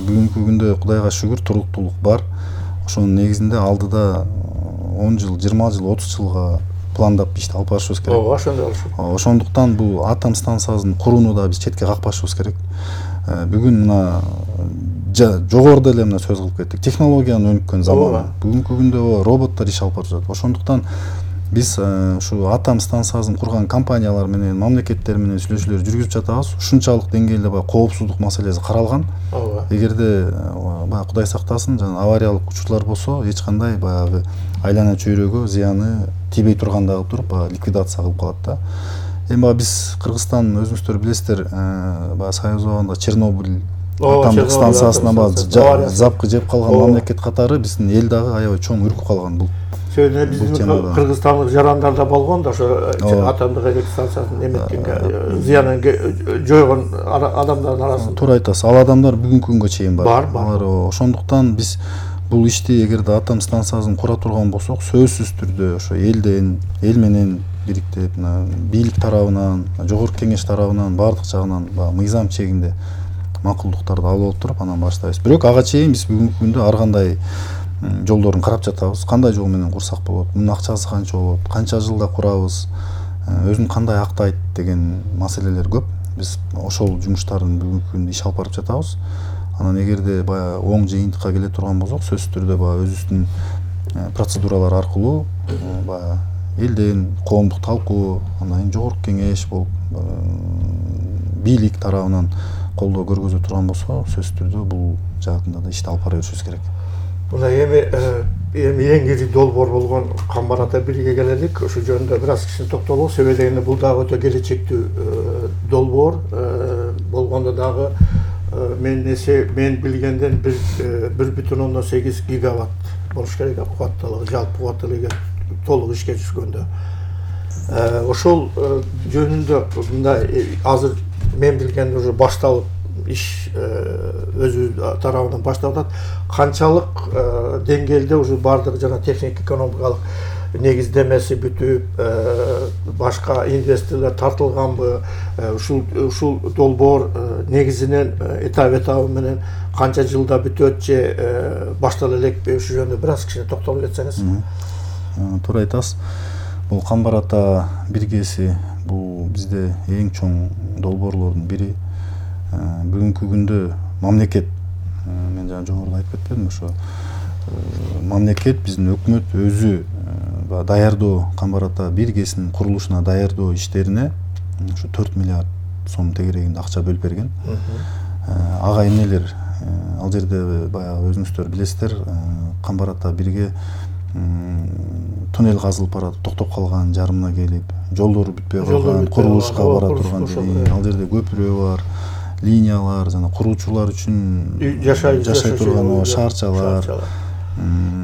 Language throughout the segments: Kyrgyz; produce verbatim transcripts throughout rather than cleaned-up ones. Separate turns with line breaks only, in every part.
бүгүнкү күндө Кудайга шүгүр туруктуулук бар. Ошонун негизинде алдыда он жыл, жыйырма жыл, отуз жылга пландап ишти алып барышыбыз керек.
Ооба, ошондой болушу.
Ошондуктан бул атом станциясын курууну да биз четке какпашыбыз керек. Бүгүн мына жогоруда эле мына сөз кылып кеттик. Технологиянын өнүккөн заманы. Бүгүнкү күндө роботтор иш алып барып жатат. Ошондуктан биз ушу атом станциясын курган компаниялар менен, мамлекеттер менен сүйлөшүүлөр жүргүзүп жатабыз. Ушунчалык деңгээлде баягы коопсуздук маселеси каралган. Эгерде баягы Кудай сактасын, жана авариялык учурлар болсо, эч кандай баягы айлана чөйрөгө зыяны тийбей тургандагы туруп, баягы ликвидация кылып калат да. Эми баягы биз Кыргызстан өзүңүздөр билесиздер, баягы Союз убагында Чернобыль атомдук станциясына баягы запкы жеп калган мамлекет катары биздин эл дагы аябай чоң үркүп калган бул.
Сөйдө биздин кыргызстандык жарандар да болгон да, ошо атомдук электр станциясын эметкенге зыянын жойгон адамдардын арасында.
Туура айтасыз. Ал адамдар бүгүнкү күнгө чейин бар.
Бар.
Ошондуктан биз бул ишти эгерде атом станциясын кура турган болсок, сөзсүз түрдө ошо элден, эл менен бириктеп, бийлик тарабынан, жогорку кеңеш тарабынан баардык жагынан мыйзам чегинде макулдуктарды алып алып туруп анан баштайбыз. Бирок ага чейин биз бүгүнкү күндө ар кандай жолдорун карап жатабыз. Кандай жол менен курсак болот? Мунун акчасы канча болот? Канча жылда курабыз? Өзүн кандай актайт деген маселелер көп. Биз ошол жумуштардын бүгүнкү күндө иш алып барып жатабыз. Анан эгерде баягы оң жыйынтыкка келе турган болсок, сөзсүз түрдө баягы өзүбүздүн процедуралар аркылуу баягы элден коомдук талкуу, андан кийин жогорку кеңеш болуп, бийлик тарабынан колдоо көргөзө турган болсо, сөзсүз түрдө бул жаатында да ишти алып бара беришибиз керек.
Мына эми эми эң ири долбоор болгон Камбар ата бирге келелик. Ошол жөнүндө бир аз кичине токтолобуз. Себеби дегенде бул дагы өтө келечектүү долбоор болгондо дагы мен эсе мен билгенден бир бүтүн ондон сегиз гигаватт болуш керек кубаттуулугу, жалпы кубаттуулугу толук ишке түшкөндө. Ошол жөнүндө мындай азыр мен билгенде уже башталып иш өзү тарабынан башталып атат. Канчалык деңгээлде уже баардык жана техник экономикалык негиздемеси бүтүп, башка инвесторлор тартылганбы, ушул ушул долбоор негизинен этап этабы менен канча жылда бүтөт же баштала элекпи, ушул жөнүндө бир аз кичине токтолуп кетсеңиз.
Туура айтасыз. Бул Камбар ата биргеси бул бизде эң чоң долбоорлордун бири. Бүгүнкү күндө мамлекет, мен жана жогоруда айтып кетпедимби, ошо мамлекет, биздин өкмөт өзү даярдоо Камбар ата биргесинин курулушуна даярдоо иштерине ушу төрт миллиард сом тегерегинде акча бөлүп берген. Ага эмнелер, ал жерде баягы өзүңүздөр билесиздер, Камбар ата бирге туннель казылып баратып токтоп калган, жарымына келип, жолдору бүтпөй калган, курулушка бара турган, ал жерде көпүрө бар, линиялар, жана куруучулар үчүн жашай турган шаарчалар,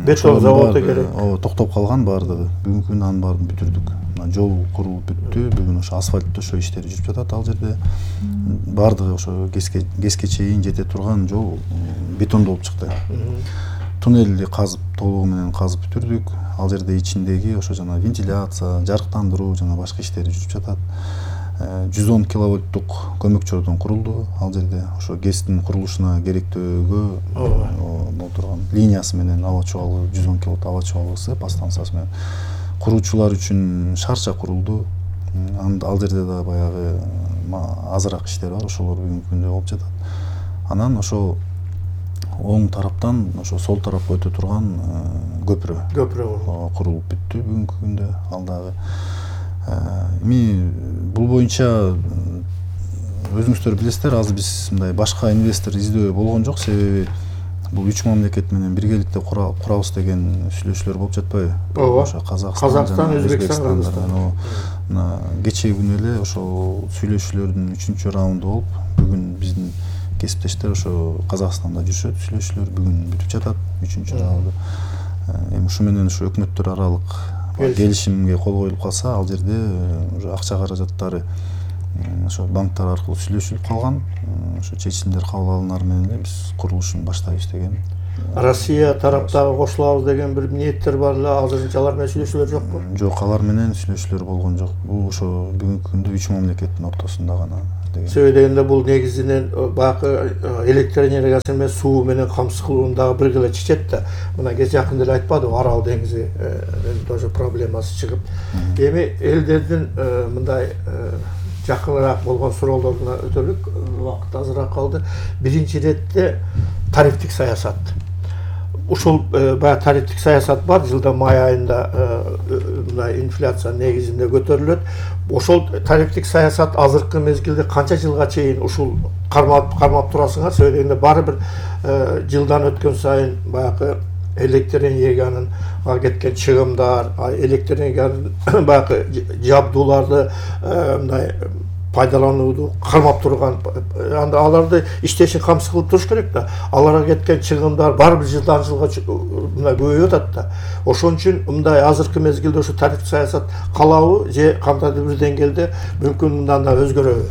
бетон заводу керек.
Ооба, токтоп калган баардыгы. Бүгүнкү күндө анын баарын бүтүрдүк. Жол курулуп бүттү, бүгүн ошо асфальт төшөө иштери жүрүп жатат. Ал жерде баардыгы ошо кеске кеске чейин жете турган жол бетондолуп чыкты. Туннелди казып, толугу менен казып бүтүрдүк. Ал жерде ичиндеги ошо жана вентиляция, жарыктандыруу жана башка иштери жүрүп жатат. жүз он киловольттук көмөкчөрдөн курулду. Ал жерде ошо ГЭСтин курулушуна керектөөгө боло турган линиясы менен аба чубалгы жүз он киловольт аба чубалгысы по станциясы менен куруучулар үчүн шарча курулду. Ал жерде да баягы азыраак иштер бар, ошолор бүгүнкү күндө болуп жатат. Анан ошо оң тараптан ошо сол тарапка өтө турган көпүрө
көпүрө
курулуп бүттү бүгүнкү күндө. Ал дагы эми бул боюнча өзүңүздөр билесиздер, азыр биз мындай башка инвестор издөө болгон жок, себеби бул үч мамлекет менен биргеликте курабыз деген сүйлөшүүлөр болуп жатпайбы?
Ооба.
Ошо Казакстан жана Өзбекстан. Мына кечээ күнү эле ошол сүйлөшүүлөрдүн үчүнчү раунду болуп, бүгүн биздин кесиптештер ошо Казакстанда жүрүшөт, сүйлөшүүлөр бүгүн бүтүп жатат, үчүнчү раунду. Эми ушу менен ушу өкмөттөр аралык келишимге кол коюлуп калса, ал жерде уже акча каражаттары ошо банктар аркылуу сүйлөшүлүп калган. Ошо чечимдер кабыл алынар менен эле биз курулушун баштайбыз деген.
Россия тараптагы кошулабыз деген бир ниеттер бар эле, азырынча алар менен сүйлөшүүлөр жокпу?
Жок, алар менен сүйлөшүүлөр болгон жок. Бул ошо бүгүнкү күндө үч мамлекеттин ортосунда гана деген.
Себеби дегенде бул негизинен баягы электр энергиясы эмес, суу менен камсыз кылууну дагы бир гана чечет да. Мына кеч жакында эле айтпадыбы, Арал деңизи тоже проблемасы чыгып. Эми элдердин мындай жакыныраак болгон суроолоруна өтөлүк, убакыт азыраак калды. Биринчи иретте тарифтик саясат. Ушул баягы тарифтик саясат бар, жылда май айында мындай инфляция негизинде көтөрүлөт. Ошол тарифтик саясат азыркы мезгилде канча жылга чейин ушул кармап кармап турасыңар? Себеби дегенде баары бир жылдан өткөн сайын баягы электр энергиянын кеткен чыгымдар, электр энергиянын баягы жабдууларды мындай пайдаланууду кармап турган, анда аларды иштешин камсыз кылып туруш керек да. Аларга кеткен чыгымдар баары бир жылдан жылга мындай көбөйүп атат да. Ошон үчүн мындай азыркы мезгилде ушу тариф саясат калабы же кандайдыр бир деңгээлде мүмкүн мындан да өзгөрөбү?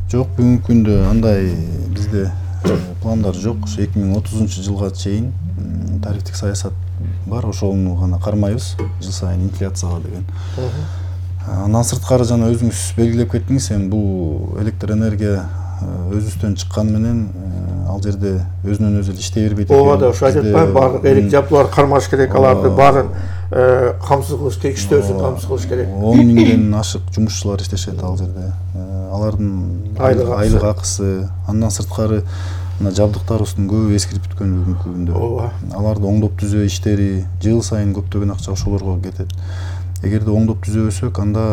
Жок, бүгүнкү күндө андай бизде пландар жок. Ошо эки миң отузунчу жылга чейин тарифтик саясат бар, ошону гана кармайбыз, жыл сайын инфляцияга деген. Андан сырткары жана өзүңүз белгилеп кеттиңиз, эми бул электр энергия өзүбүздөн чыккан менен ал жерде өзүнөн өзү иштей бербейт экен.
Ооба да, ошо айтып атпаймынбы, баардык элек жабдууларды кармаш керек, аларды баарын камсыз кылыш керек, иштөөсүн камсыз кылыш керек.
он миңден ашык жумушчулар иштешет ал жерде. Алардын айлык акысы, андан сырткары мына жабдыктарыбыздын көбү эскирип бүткөн бүгүнкү күндө.
Ооба.
Аларды оңдоп түзөө иштери жыл сайын көптөгөн акча ошолорго кетет. Эгерде оңдоп түзөбөсөк, анда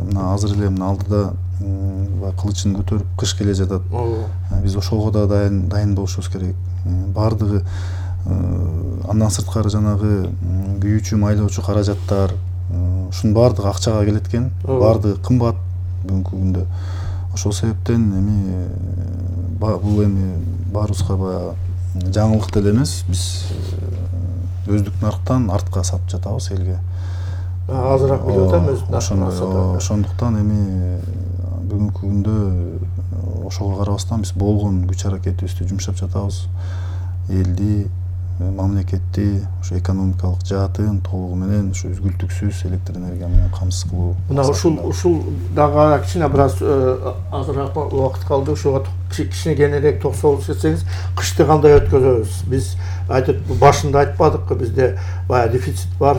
мына азыр эле мына алдыда кылычын көтөрүп кыш келе жатат. Биз ошого да дайын дайын болушубуз керек. Бардыгы андан сырткары жанагы күйүүчү, майлоочу каражаттар, ушунун бардыгы акчага келет экен. Бардыгы кымбат бүгүнкү күндө. Ошол себептен эми бул эми баарыбызга баягы жаңылык деле эмес, биз өздүк нарыктан артка сатып жатабыз элге.
Азыраак билип атам өзү.
Ошондуктан эми бүгүнкү күндө ошого карабастан биз болгон күч аракетибизди жумшап жатабыз. Элди, мамлекетти ошо экономикалык жаатын толугу менен ушу үзгүлтүксүз электр энергия менен камсыз кылуу.
Мына ушул ушул дагы кичине бир аз азыраак убакыт калды. Ушуга кичине кененирээк токсолуп кетсеңиз, кышты кандай өткөзөбүз? Биз айтып башында айтпадыкпы, бизде баягы дефицит бар,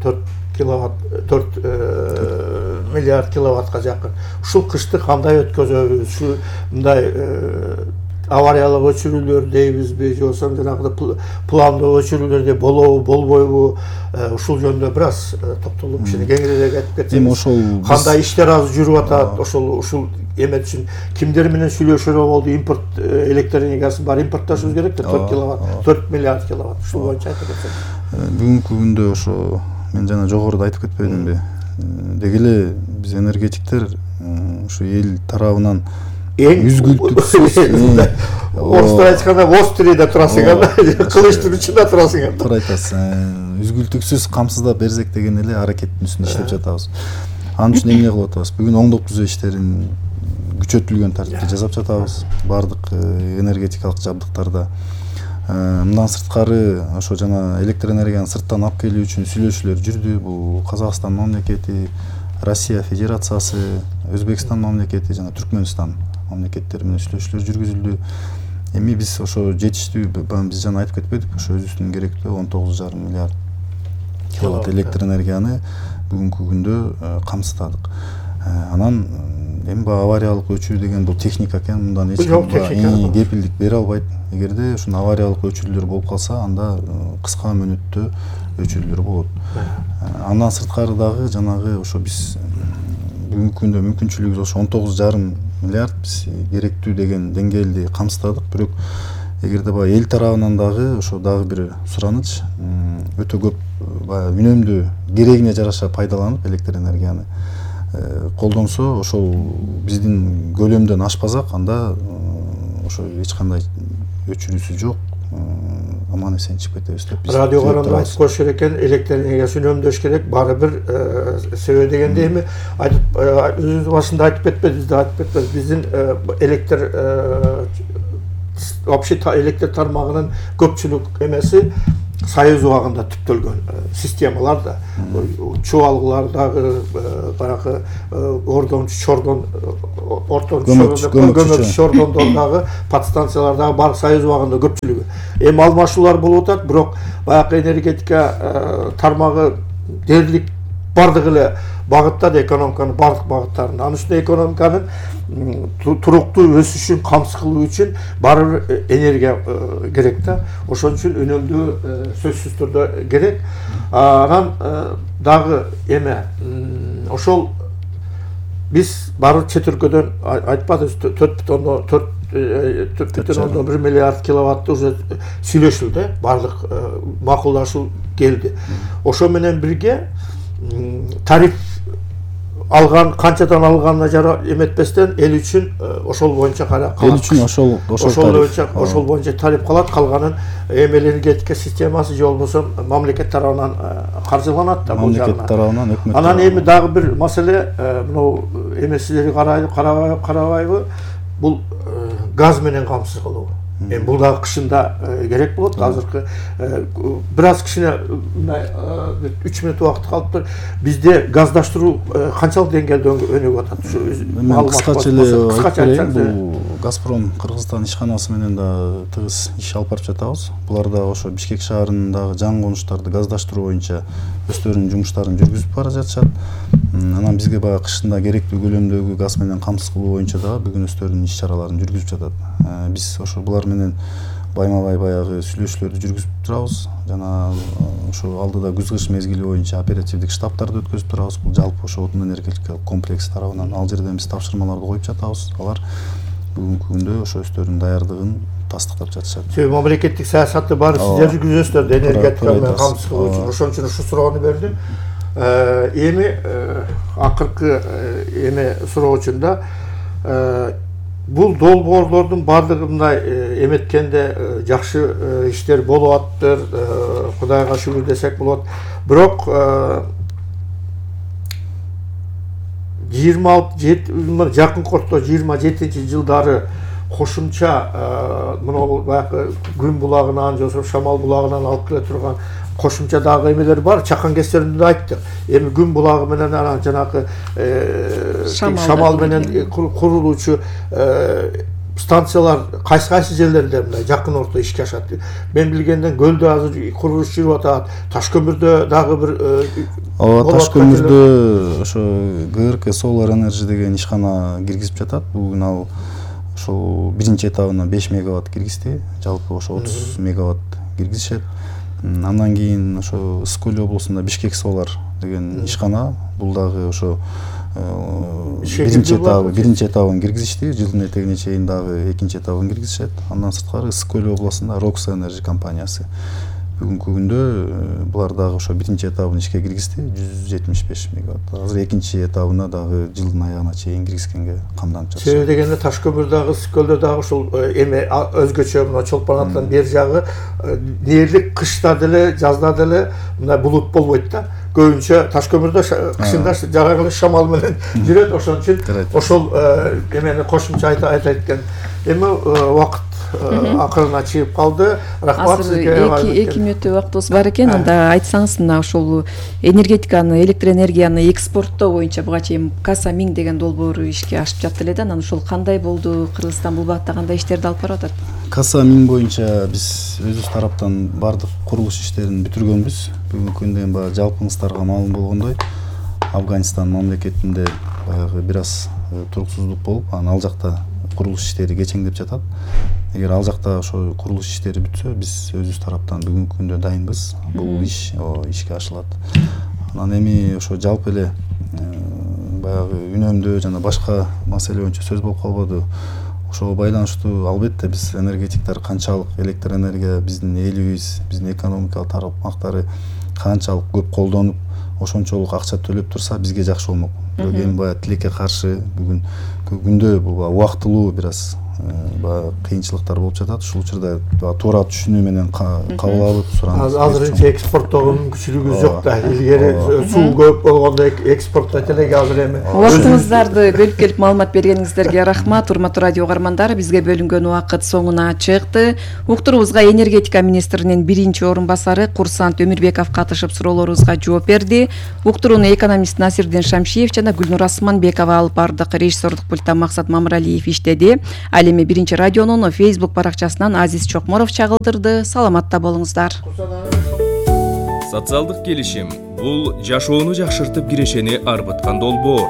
төрт киловатт, төрт миллиард киловаттка жакын. Ушул кышты кандай өткөзөбүз? Ушу мындай авариялык өчүрүүлөр дейбизби, же болбосо жанагы пландуу өчүрүүлөр болобу, болбойбу? Ушул жөнүндө бир аз токтолуп, кичине кеңирээк айтып кетсеңиз. Эми ошол кандай иштер азыр жүрүп атат? Ошол ушул эмет үчүн кимдер менен сүйлөшүүгө болду? Импорт электр энергиясын бар импортташыбыз керек да, төрт киловатт, төрт миллиард киловатт. Ушул боюнча айтып кетсеңиз.
Бүгүнкү күндө ошо мен жана жогоруда айтып кетпедимби? Деги эле биз энергетиктер ушу эл тарабынан үзгүлтүксүз,
орустар айтканда вострийде турасыңар, кылычтын учунда турасыңар.
Туура айтасыз. Үзгүлтүксүз камсыздап берсек деген эле аракеттин үстүндө иштеп жатабыз. Анын үчүн эмне кылып атабыз? Бүгүн оңдоп түзөө иштерин күчөтүлгөн тартипте жасап жатабыз. Бардык энергетикалык жабдыктарда. Мындан сырткары ошо жана электр энергияны сырттан алып келүү үчүн сүйлөшүүлөр жүрдү. Бул Казакстан мамлекети, Россия Федерациясы, Өзбекстан мамлекети жана Түркмөнстан мамлекеттери менен сүйлөшүүлөр жүргүзүлдү. Эми биз ошо жетиштүү, биз жана айтып кетпедикпи, ошо өзүбүздүн керектүү он тогуз жарым миллиард киловатт электр энергияны бүгүнкү күндө камсыздадык. Анан эми баягы авариялык өчүү деген бул техника экен, мындан эч ким кепилдик бере албайт. Эгерде ушун авариялык өчүрүүлөр болуп калса, анда кыска мөөнөттө өчүрүүлөр болот. Андан сырткары дагы жанагы ошо биз бүгүнкү күндө мүмкүнчүлүгүбүз ошо он тогуз жарым миллиард биз керектүү деген деңгээлди камсыздадык. Бирок эгерде баягы эл тарабынан дагы ошо дагы бир сураныч өтө көп баягы үнөмдүү керегине жараша пайдаланып электр энергияны колдонсо, ошол биздин көлөмдөн ашпасак, анда ошо эч кандай өчүрүүсү жок, аман эсен чыгып кетебиз деп биз.
Радио каранды айтып коюш керек экен, электр энергиясын үнөмдөш керек, баары бир себеби дегенде эми айтып өзүбүз башында айтып кетпедиз да, айтып кетпедиз. Биздин электр вообще электр тармагынын көпчүлүк эмеси Союз убагында түптөлгөн системалар да, чубалгылардагы баягы ордончу чордон ортончу көмөкчү чордондордагы подстанциялардагы баардык Союз убагында көпчүлүгү. Эми алмашуулар болуп атат, бирок баягы энергетика тармагы дээрлик бардык эле багыттады, экономиканын бардык багыттарында. Анын үстүнө экономиканын туруктуу өсүшүн камсыз кылуу үчүн баары бир энергия керек да. Ошон үчүн үнөмдүү сөзсүз түрдө керек. Анан дагы эме ошол биз баары чет өлкөдөн айтпадыбыз төрт бүтүн ондон бир миллиард киловаттты уже сүйлөшүлдү, баардык макулдашуу келди. Ошо менен бирге тариф алган, канчадан алганына жара эметпестен эл үчүн ошол боюнча кара калат.
Эл үчүн ошол
ошол боюнча ошол боюнча тариф калат, калганын эми энергетика системасы же болбосо мамлекет тарабынан каржыланат да бул жагынан.
Мамлекет тарабынан, өкмөт.
Анан эми дагы бир маселе, мынау эми сиздерге карабайбы, карабайбы, бул газ менен камсыз кылуу. Эми бул дагы кышында керек болот. Азыркы бир аз кичине үч мүнөт убакыт калыптыр. Бизде газдаштыруу канчалык деңгээлде өнүгүп атат?
Мен кыскача эле айтып бул Газпром Кыргызстан ишканасы менен да тыгыз иш алып барып жатабыз. Булар да ошо Бишкек шаарындагы жаңы конуштарды газдаштыруу боюнча өздөрүнүн жумуштарын жүргүзүп бара жатышат. Анан бизге баягы кышында керектүү көлөмдөгү газ менен камсыз кылуу боюнча дагы бүгүн өздөрүнүн иш чараларын жүргүзүп жатат. Биз ошо булар менен байма-бай баягы сүйлөшүүлөрдү жүргүзүп турабыз. Жана ошо алдыда күз-кыш мезгили боюнча оперативдик штабтарды өткөзүп турабыз. Бул жалпы ошо отун энергетикалык комплекс тарабынан ал жерден биз тапшырмаларды коюп жатабыз. Алар бүгүнкү күндө ошо өздөрүнүн даярдыгын тастыктап жатышат.
Себеби мамлекеттик саясатты баары сиздер жүргүзөсүздөр да, энергетика менен камсыз кылуу үчүн. Ошон үчүн ушу суроону бердим. Эми акыркы эме суроочунда бул долбоорлордун баардыгы мындай эметкенде жакшы иштер болуп аттыр, Кудайга шүгүр десек болот. Бирок жыйырма жети жакын корто жыйырма жетинчи жылдары кошумча мына баягы Күн булагынан же болбосо Шамал булагынан алып келе турган кошумча дагы эмелер бар. Чакан кестеринде да айттык. Эми Күн булагы менен анан жанагы Шамал менен курулуучу станциялар кайсы кайсы жерлерде мындай жакын орто ишке ашат. Мен билгенден Көлдө азыр курулуш жүрүп атат. Ташкөмүрдө дагы бир
ооба, Ташкөмүрдө ошо ГРК Solar Energy деген ишкана киргизип жатат. Бүгүн ал ошол биринчи этабына беш мегаватт киргизди. Жалпы ошо отуз мегаватт киргизишет. Андан кийин ошо Ысык Көл облусунда Бишкек Solar деген ишкана, бул дагы ошо биринчи этабы биринчи этабын киргизишти. Жылдын этегине чейин дагы экинчи этабын киргизишет. Андан сырткары Ысык Көл облусунда Rox Energy компаниясы бүгүнкү күндө булар дагы ошо биринчи этабын ишке киргизди, жүз жетимиш беш мегаватт. Азыр экинчи этабына дагы жылдын аягына чейин киргизгенге камданып жатышат.
Себеби дегенде Ташкөмүрдагы, Ысык Көлдө дагы ушул эме өзгөчө мына Чолпон аттан бери жагы дээрлик кышта деле, жазда деле мындай булут болбойт да. Көбүнчө Ташкөмүрдө кышында жарагы Шамал менен жүрөт. Ошон үчүн ошол эмени кошумча айта экен. Эми убакыт акырына чыгып калды. Рахмат сизге.
эки мүнөттө убактыбыз бар экен. Анда айтсаңыз мына ушул энергетиканы, электр энергияны экспорттоо боюнча буга чейин Каса миң деген долбоору ишке ашып жатты эле да. Анан ушул кандай болду? Кыргызстан бул багытта кандай иштерди алып барып атат?
Каса миң боюнча биз өзүбүз тараптан бардык курулуш иштерин бүтүргөнбүз. Бүгүнкү күндө баягы жалпыңыздарга маалым болгондой, Афганистан мамлекетинде баягы бир аз туруксуздук болуп, анан ал жакта курулуш иштери кечеңдеп жатат. Эгер ал жакта ошо курулуш иштери бүтсө, биз өзүбүз тараптан бүгүнкү күндө дайынбыз. Бул иш ишке ашылат. Анан эми ошо жалпы эле баягы үнөмдөө жана башка маселе боюнча сөз болуп калбады. Ошого байланыштуу албетте биз энергетиктер канчалык электр энергия биздин элибиз, биздин экономикалык тармактары канчалык көп колдонуп, ошончолук акча төлөп турса, бизге жакшы болмок. Бирок эми баягы тилекке каршы бүгүнкү күндө бул убактылуу бир аз баягы кыйынчылыктар болуп жатат. Ушул учурда туура түшүнүү менен кабыл алып суранып.
Азырынча экспорттогу мүмкүнчүлүгүбүз жок да. Илгери суу көп болгондо экспорттойт элек, азыр эми.
Убактыңыздарды бөлүп келип маалымат бергениңиздерге рахмат. Урматтуу радио угармандар, бизге бөлүнгөн убакыт соңуна чыкты. Уктуруубузга энергетика министринин биринчи орун басары Курсант Өмүрбеков катышып суроолорубузга жооп берди. Уктурууну экономист Насирдин Шамшиев жана Гүлнур Асманбекова алып бардык. Режиссердук пульттан Максат Мамыралиев иштеди. Ал эми биринчи радионун Facebook баракчасынан Азиз Чокморов чагылдырды. Саламатта болуңуздар.
Социалдык келишим бул жашоону жакшыртып кирешени арбыткан долбоор.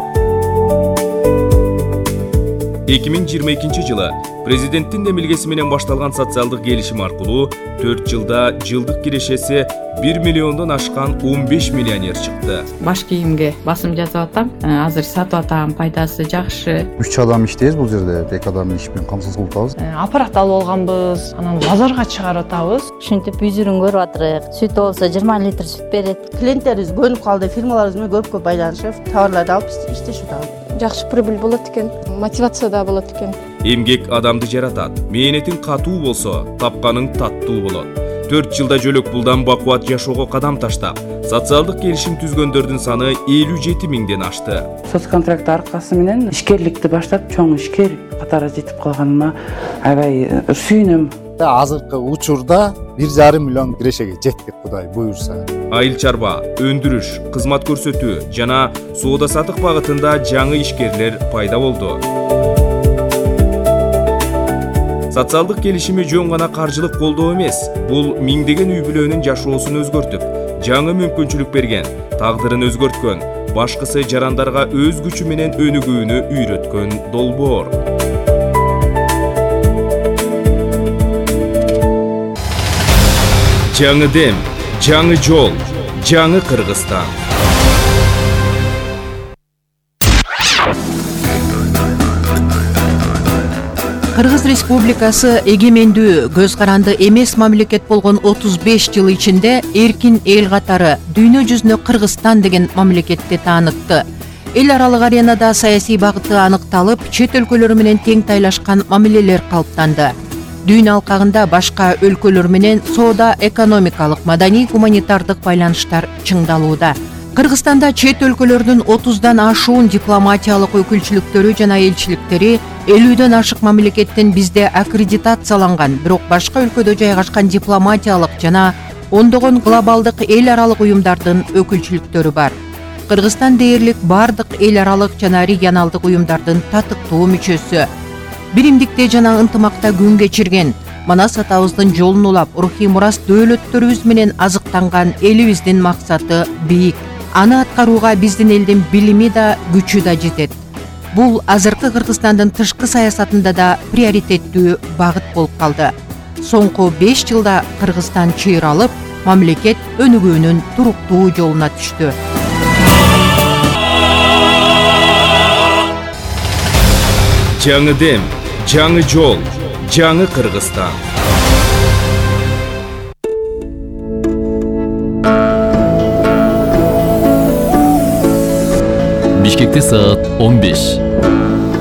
эки миң жыйырма экинчи жылы президенттин эмилгеси менен башталган социалдык келишим аркылуу төрт жылда жылдык кирешеси бир миллиондон ашкан он беш миллионер чыкты.
Баш кийимге басым жасап атам. Азыр сатып атам, пайдасы жакшы.
үч адам иштейбиз бул жерде. Эки адам иш менен камсыз кылып атабыз.
Аппарат алып алганбыз, анан базарга чыгарып атабыз.
Ушинтип үзүрүн көрүп атырык. Сүт болсо жыйырма литр сүт берет. Клиенттерибиз көнүп калды, фирмаларыбыз менен көп көп байланышып, товарларды алып иштешип атабыз.
Жакшы прибыль болот экен, мотивация да болот экен.
Эмгек адамды жаратат. Мээнетиң катуу болсо, тапканың таттуу болот. төрт жылда жөлөк пулдан бакубат жашоого кадам таштап, социалдык келишим түзгөндөрдүн саны элүү жети миңден ашты.
Соцконтракт аркасы менен ишкерликти баштап, чоң ишкер катары жетип калганыма аябай сүйүнөм.
Азыркы учурда бир жарым миллион кирешеге жеттик, Кудай буюрса.
Айыл чарба, өндүрүш, кызмат көрсөтүү жана соода сатык багытында жаңы ишкерлер пайда болду. Социалдык келишими жөн гана каржылык колдоо эмес, бул миңдеген үй бүлөнүн жашоосун өзгөртүп, жаңы мүмкүнчүлүк берген, тагдырын өзгөрткөн, башкысы жарандарга өз күчү менен өнүгүүнү үйрөткөн долбоор. Жаңы дем, жаңы жол, жаңы Кыргызстан.
Кыргыз Республикасы эгемендүү, көз каранды эмес мамлекет болгон отуз беш жыл ичинде эркин эл катары дүйнө жүзүнө Кыргызстан деген мамлекетти таанытты. Эл аралык аренада саясий багыты аныкталып, чет өлкөлөр менен тең тайлашкан мамилелер калыптанды. Дүйнө алкагында башка өлкөлөр менен соода, экономикалык, маданий, гуманитардык байланыштар чыңдалууда. Кыргызстанда чет өлкөлөрдүн отуздан ашуун дипломатиялык өкүлчүлүктөрү жана элчиликтери, элүүдөн ашык мамлекеттин бизде аккредитацияланган, бирок башка өлкөдө жайгашкан дипломатиялык жана ондогон глобалдык эл аралык уюмдардын өкүлчүлүктөрү бар. Кыргызстан дээрлик бардык эл аралык жана регионалдык уюмдардын татыктуу мүчөсү. Биримдикте жана ынтымакта күн кечирген, Манас атабыздын жолун улап, рухий мурас дөөлөттөрүбүз менен азыктанган элибиздин максаты бийик. Аны аткарууга биздин элдин билими да, күчү да жетет. Бул азыркы Кыргызстандын тышкы саясатында да приоритеттүү багыт болуп калды. Соңку беш жылда Кыргызстан чыйралып, мамлекет өнүгүүнүн туруктуу жолуна түштү.
Жаңы дем, жаңы жол, жаңы Кыргызстан.
Бишкекте саат он беш.